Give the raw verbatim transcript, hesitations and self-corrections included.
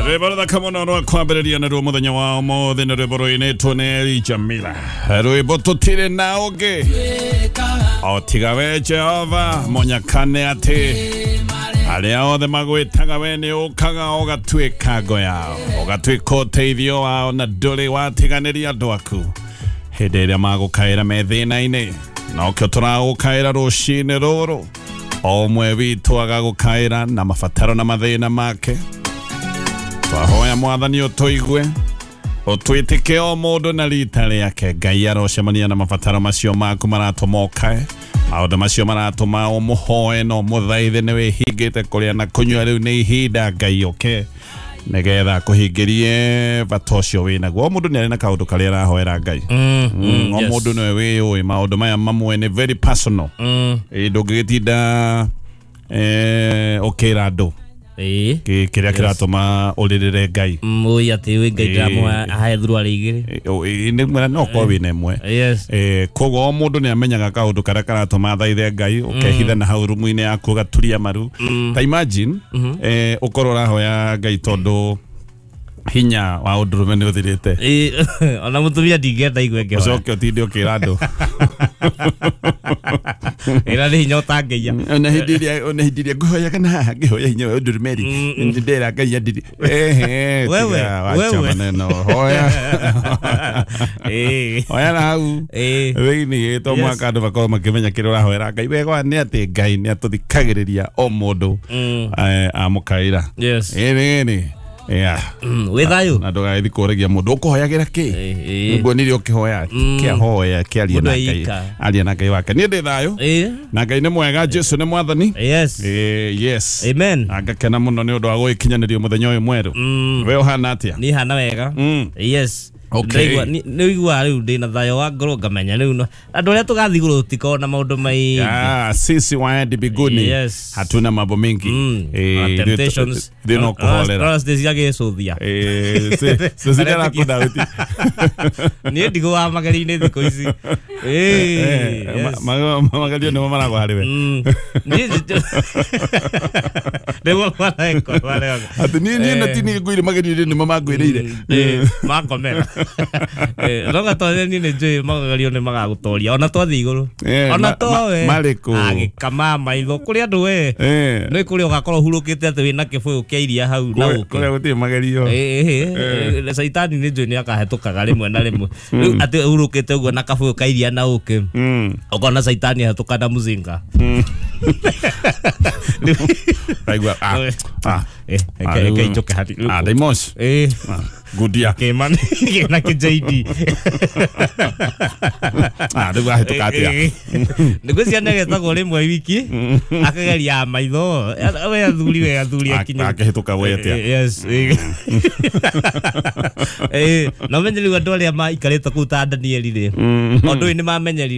Rwĩmbo rũthaka mũno rwa kwambĩrĩria na ruo mũthenya wa ũmũthĩ nĩ rwĩmbo rũinĩtwo nĩ Eli Jamila. Rwĩmbo tũtirĩ na ũngĩ o tiga we Jehova mũnyakane atĩ arĩa othe magwĩtaga we nĩ ũkaga ũgatuĩka ngo yao, ũgatuĩka ũteithio wao, na ndũrĩ watiganĩria andũ aku hĩndĩ ĩrĩa magũkaĩra me thĩna-inĩ. Nokĩo tũragũkaĩra rũcinĩ rũrũ, o ũmwe witũ agagũkaĩra na mabataro na mathĩna make. Twahoya Mwathani ũtũigue, ũtwĩtĩke o mũndũ na rita rĩake. Ngai arocemania na mabataro macio maku maratũma ũkae, maũndũ macio maratũma ũmũhoe na ũmũthaithe. Nĩ wĩhingĩte kũrĩa na kũnyua, rĩu nĩ ihinda Ngai ũke nĩgetha akũhingĩrie bata ũcio wĩnaguo. O mũndũ nĩ arĩ na kaũndũ karĩa arahoera Ngai. Mm, o mũndũ nĩwe wĩyũĩ maũndũ maya mamwe nĩ very personal. Ĩ, ndũngĩgĩtinda eh, ũkĩra andũ Ĩĩ. kĩ- kĩrĩa kĩratũma ũrĩrĩre Ngai. Mũi atĩ wĩ Ngai ndĩramũhe ahe thuruarĩ igĩrĩ. Ĩ, ĩ, nĩ mwena no ũkorwo wĩna ĩmwe. Yes. Eh, koguo o mũndũ nĩ amenyaga kaũndũ karĩa karatũma athaithe Ngai, ũkehitha na hau rumu-inĩ yaku ũgaturia maru. Ta imagine eh, ũkorwo ũrahoya Ngai tondũ hinya wa ũndũrũme nĩ ũthirĩte, Ĩĩ, ona mũtumia ndingĩenda igue ngĩhoya. Ũcoke ũtinde ũkĩra andũ. Ĩra nĩ hinya ũtangĩiya. Ona hĩndĩ ĩrĩa ona hĩndĩ ĩrĩa ngũhoyaga na haha ngĩhoya hinya wa ũndũrũme rĩ, ndĩra Ngai andiri ehe. Wewe, tiga wacha wewe. maneno, hoya. Ĩĩ. Hoya na hau Ĩĩ. thĩinĩ to Yes. mwaka andũ makorwo makĩmenya kĩrĩa ũrahoera Ngai. Wega nĩ atĩ Ngai nĩ atũthikagĩrĩria o mũndũ Mm. eh, amũkaĩra. Yes. Ĩĩ nĩ yeah. Mm, wĩ thayũ. Na ndũgagĩthiĩ kũragia mũndũ ũkũhoyagĩra kĩ. Ĩĩ, ĩĩ. Nguonire ũkĩhoya kĩahoya kĩaria Mũndũ na Ngai, eika. aria na Ngai wake. Niĩ ndĩ thayũ Ĩĩ. na Ngai nĩ mwega, Jesu nĩ mwathani. Yes. Eh, yes. Amen. Na ngakena mũno nĩ ũndũ wa gũgĩkinyanĩrio mũthenya ũyũ mwerũ. Mm. We ũhana atĩa? Niĩ hana wega. Mm. Yes. Okay. Ndĩraigua- nĩ nĩ ũiguaga rĩu ndĩna thayũ wa ngoro, ngamenya rĩu no andũ arĩa tũgathiĩ igũrũ tũtikoragwo na maũndũ maingĩ. Ah, sisi waendi mbinguni Yes. hatuna mambo mingi. Mm. Eh, Ona ithuĩ- temptations. ithuĩ no kũhorera. Ona ciĩ cia gĩcũthia. Eh, si- Cecilia arakũndauti. Niĩ ndigũaga magerio-inĩ thikũ ici. Ĩĩ, yes. Magerio nĩmo maragwa harĩ we. Mm. Niĩ nĩguo mareko mareko. Atĩ niĩ niĩ na ti niĩ ngwĩre magerio nĩmo mangwĩrĩire. Ĩĩ, makomera. Ĩĩ, no gatoria niĩ nĩ njũĩ magerio nĩ magagũtoria ona twathiĩ igũrũ. Eh, Ona ma- towe ma- marĩkũ? Agĩkama maitho kũrĩ andũ we Eh, nĩ kũrĩa ũgakorwo ũhurũkĩte atĩ wĩna kĩbũyũ kĩa iria hau na kũrĩa ũkĩ. kũrĩa gũtirĩ magerio. Ĩĩ, caitani nĩ njũĩ nĩ akahĩtũkaga rĩmwe na rĩmwe. Rĩu atĩ ũhurũkĩte ũguo na kabũyũ ka iria na ũkĩ, Mm. ũkona caitani ahĩtũka na mũcinga. Raigua ah ah. Eh, Ah, reke reke rĩu- injoke hati. Ah, Daimos. Ĩĩ. Gudia. Kĩma kĩna kĩ J D. Ah, rĩu ahĩtũka atĩa? Nĩguo ciana getagwo rĩmwe wiki akageria maitho we athuri we athuri akinye. Akĩhĩtũka we atĩa? Yes. Ĩĩ, na ũmenye rĩu andũ arĩa maikarĩte kũu ta Danieli rĩ, ũndũ ũyũ nĩ mamenyerire.